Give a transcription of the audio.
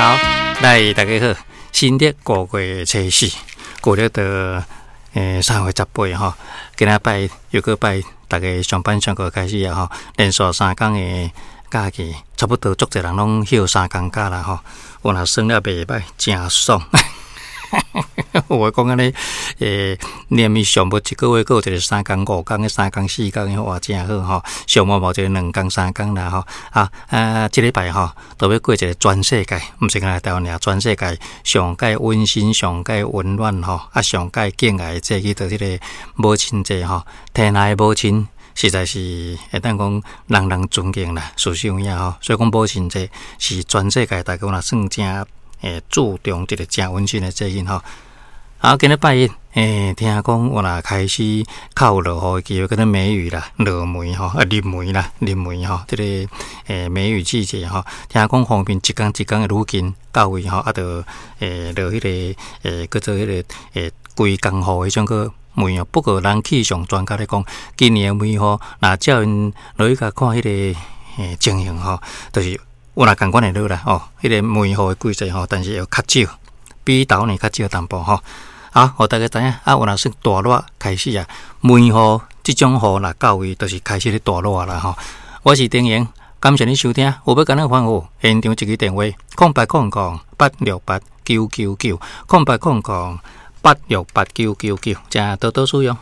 好，來大家好，新曆5月初4，舊曆的3月18吼，今仔拜又閣拜，逐家上班上課開始啊吼，連續3工的假期，差不多足濟人攏歇3工假啦吼，我若耍了袂䆀，誠爽。有的講按呢，連伊上無一個月，閣有一個3工、5工、3工、4工的，哇，誠好吼。上無無一個2工、3工啦吼。啊，這禮拜吼，都欲過一個全世界，毋是干焦台灣爾，全世界上蓋溫馨、上蓋溫暖吼，啊，上蓋敬愛的節日，就這个母親節吼。天下的母親實在是會當講人人尊敬啦，事實有影吼。所以講母親節是全世界大家若算誠注重一個誠溫馨的節日吼。啊，今日拜一，聽講有若開始較有落雨的機會，叫做梅雨啦，落梅吼，啊，入梅啦，入梅吼，這個梅雨季節吼，聽講鋒面一工一工會愈近到位吼，啊，就落彼个叫做彼个規工雨彼種個梅雨。不過人氣象專家咧講，今年的梅雨，若照𪜶落去共看彼个情形吼，就是有若仝款會落啦，哦，彼个梅雨的季節吼，但是會較少，比舊年較少淡薄吼。好，予大家知影，啊，有若算大熱開始啊，梅雨這種雨若到位，就是開始咧大熱啦吼。我是丁瑩，感謝你收聽，有欲共咱歡呼，現場一支電話：0800868999，0800868999，請多多使用。